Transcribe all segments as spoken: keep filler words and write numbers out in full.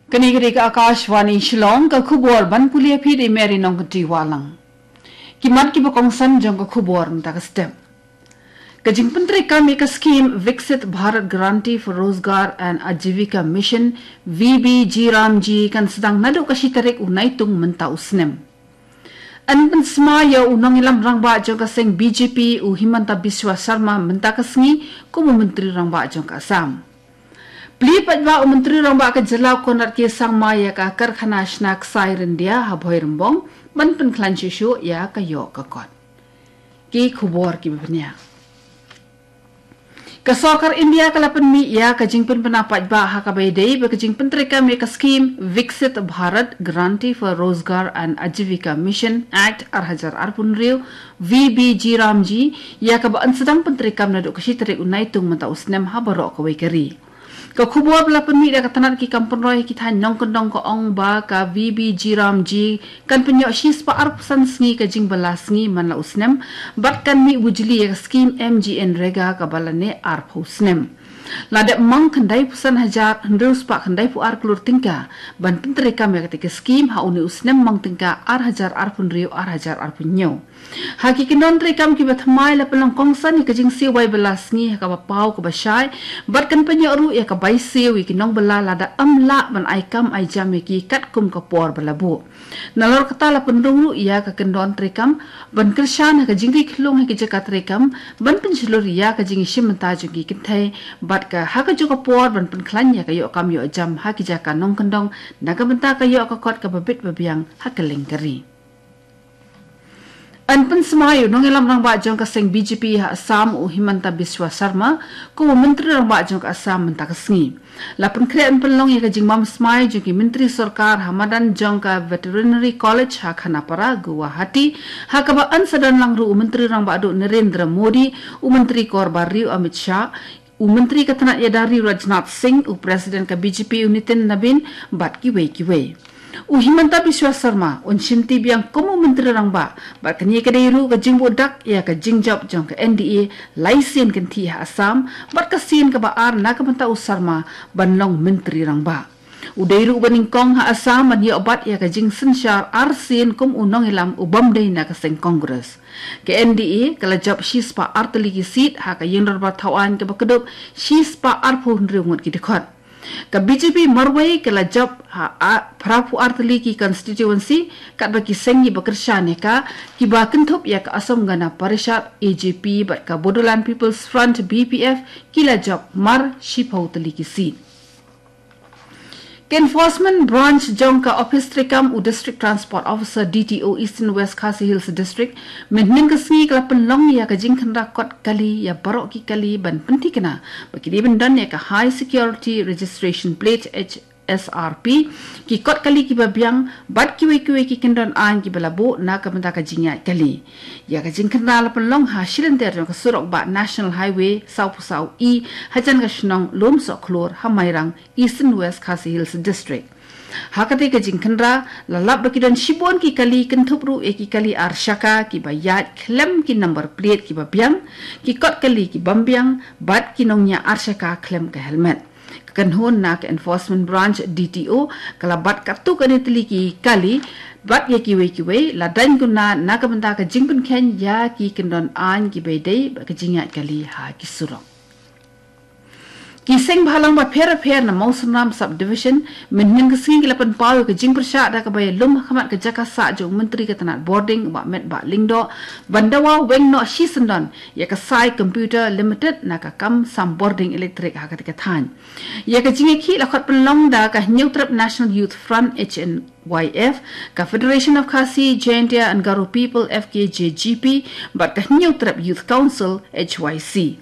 Kane ka dei ka Akashvani Shillong, ka khubor ban pule ïa phi da i Mary Nongkynrih Wahlang. Ki mat kiba kongsan jong ka khubor mynta ka step. Ka jingpyntreikam ïa ka skim Viksit Bharat Guarantee for Rozgar and Ajivika Mission, V B G RAM G, kan sdang naduh ka shi tarik u Naitung mynta u snem. Yn pynsmai ïa u nongïalam rangbah jong ka seng B J P u Himanta Biswa Sarma mynta ka sngi kum u Myntri Rangbah jong ka Assam. Plie paidbah u Myntri Rangbah ka jylla u Conrad K Sangma ïa ka karkhana shna ksai ryndia ha Bhoirymbong ban pynkhlaiñ shuh shuh ïa ka ïoh ka kot. Ki khubor kiba bniah. Ka sorkar India ka la pynmih ïa ka jingpynbna paidbah ha kaba ïadei bad ka jingpyntreikam ïa ka skim Viksit Bharat Guarantee for Rozgar and Ajivika Mission Act ar hajar arphew hynriew, V B G RAM G, ïa kaba yn sdang pyntreikam naduh ka shi tarik u Naitung mynta u snem ha baroh kawei ka ri. Ka khubor ba la pynmih da ka tnat ki kam pynroi ki thaiñ nongkyndong ka ong ba ka V B G RAM G kan pynïoh shispah arphew san sngi ka jingbylla sngi man la u snem, bad kan mih bujli ïa ka skim MGNREGA kaba lane arphew snem. La dep mang khyndaiphew san hajar hynriew spah khyndaiphew ar klur tyngka ban pyntreikam ïa kata ka skim ha une u snem mang tyngka ar hajar arphew hynriew ar hajar arphew hynñiew. Ha ki kyndon treikam kiba thymmai la pynlong kongsan ïa ka jingsiew bai bylla sngi ha kaba paw kaba shai, bad kan pynïoh ruh ïa ka bai siew ïa ki nongbylla lada ym lah ban ai kam ai jam ïa ki katkum ka por ba la buh. Nalor kata la pynrung ruh ïa ka kyndon treikam ban kyrshan ha ka jingri khlung ha ki jaka treikam, ban pynshlur ïa ka jingïashim bynta jong ki kynthei, bad ka ha kajuh ka por ban pynkhlaiñ ïa ka ïoh kam ïoh jam ha ki jaka nongkyndong na ka bynta ka ïoh ka kot kaba bit ba biang ha kylleng ka ri. Yn pynsmai ïa u nongïalam rangbah jong ka seng B J P ha Assam u Himanta Biswa Sarma kum u Myntri Rangbah jong ka Assam mynta ka sngi. La pynkhreh yn pynlong ïa ka jingbam smai jong ki myntri sorkar ha madan jong ka Veterinary College ha Khanapara, Guwahati, ha kaba yn sa don lang ruh u Myntri Rangbah duh Narendra Modi, u Myntri Kor Barriew Amit Shah, u Myntri ka tnat ïada ri u Rajnath Singh, u President ka B J P u Nitin Nabin, bad kiwei kiwei. U Himanta Biswa Sarma un shimti biang kum u Myntri Rangbah, bad kane ka dei ruh ka jingbuh dak ïa ka jingjop jong ka N D A lai sien kynthih ha Assam, bad ka sien kaba ar na ka bynta u Sarma ban long Myntri Rangbah. U dei ruh uba nyngkong ha Assam ban ïoh bat ïa ka jingsynshar arsien kum u nongïalam u bym dei na ka seng Congress. Ka N D A ka la jop shispah artylli ki seat ha ka ïingdorbar thawaiñ kaba kdup shispah arphew hynriew ngut ki dkhot. Ka B J P marwei ka la jop ha a-, phraphew artylli ki constituency, katba ki seng kiba kyrshan ïa ka kiba kynthup ïa ka Assam Gana Parishad, A G P, bad ka Bodoland People's Front, B P F, ki la jop mar shiphew tylli ki seat. Ka Enforcement Branch jong ka Office treikam u District Transport Officer, D T O, Eastern West Khasi Hills District, mynhynnin ka sngi ka la pynlong ïa ka jingkhynra kot kali ïa baroh ki kali ban pynthikna ba ki dei ban don ïa ka High Security Registration Plate, H S R P, ki kot kali kiba biang, bad kiwei kiwei ki kyndon aiñ kiba la buh na ka bynta ka jingïaid kali. Ïa ka jingkhynra la pynlong ha shilynter jong ka surok bah National Highway sawphew saw E, hajan ka shnong Lumsohkhlur, ha Mairang, Eastern West Khasi Hills District. Ha katei ka jingkhynra, la lap ba ki don shibun ki kali, kynthup ruh ïa ki kali ar shaka kiba ïaid khlem ki number plate kiba biang, ki kot kali ki bym biang, bad ki nongñiah ar shaka khlem ka helmet. Ka kynhun na ka Enforcement Branch, D T O, ka la bat katto katne tylli ki kali, bad ïa kiwei kiwei, la daiñ kynna na ka bynta ka jingpynkheiñ ïa ki kyndon aiñ kiba ïadei bad ka jingïaid kali ha ki surok. Ki seng bhalang bapher bapher na Mawsynram Subdivision, mynhynnin ka sngi ki la pynpaw ïa ka jingpyrshah da kaba ïalum ha khmat ka jaka sah jong u Myntri ka tnat bording, u Bah Metbah Lyngdoh, ban dawa weng noh shisyndon ïa ka Sai Computer Limited na ka kam sam bording elektrik ha katei ka thaiñ. Ïa ka jingïakhih la khot pynlong da ka Hynñiewtrep National Youth Front, H N Y F, ka Federation of Khasi, Jaintia and Garo People, F K J G P, bad ka Hynñiewtrep Youth Council, H Y C.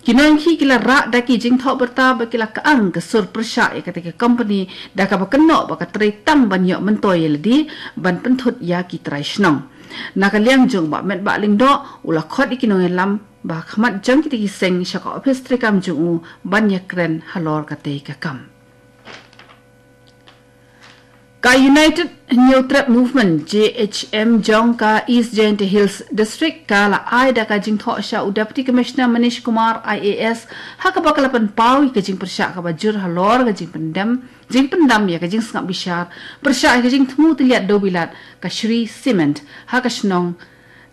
Ki nongïakhih ki la rah da ki jingthoh bynta ba ki la kyang ka sur pyrshah ïa katei ka company da kaba kynnoh ba ka trei tang ban ïoh myntoi ïa lade ban pynthut ïa ki trai shnong. Na ka liang jong u Bah Metbah Lyngdoh, u la khot ïa ki nongïalam ba ha khmat jong kitei ki seng sha ka ophis treikam jong u ban ïakren halor katei ka kam. Ka United Hynñiewtrep Movement, J H M, jong ka East Jaintia Hills District ka la ai da ka jingthoh sha u Deputy Commissioner Manish Kumar, I A S, ha kaba ka la pynpaw ïa ka jingpyrshah kaba jur halor ka jingpyndem, jingpyndam ïa ka jingsngap bishar pyrshah ïa ka jingthmu tylliat dewbilat ka Shree Cement ha ka shnong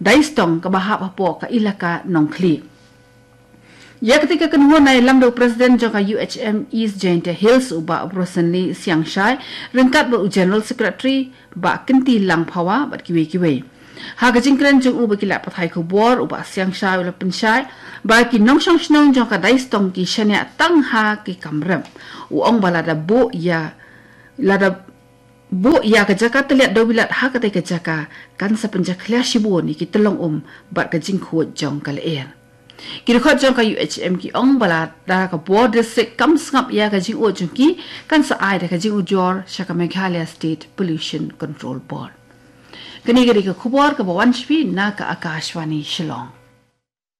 Daistong kaba hap hapoh ka Elaka Nongkhlieh. Ïa katei ka kynhun la ïalam da u President jong ka U H M East Jaintia Hills, u Bah Brosonly Siangshai, ryngkat bad u General Secretary, Bah Kynti Langphawa, bad kiwei kiwei. Ha ka jingkren jong u ba ki lad pathai khubor, u Bah Siangshai u la pynshai ba ki nongshong shnong jong ka Daistong ki shaniah tang ha ki kam rep. U ong ba lada buh ïa, lada buh ïa ka jaka tylliat dewbilat ha katei ka jaka, kan sa pynjakhlia shibun ïa ki tyllong um bad ka jingkhuid jong ka lyer. Ki dkhot jong ka U H M ki ong ba lada ka bor district kam sngap ïa ka jingud jong ki, kan sa ai da ka jingujor sha ka Meghalaya State Pollution Control Board. Kane ka dei ka khubor kaba wan sha phi na ka Akashvani Shillong.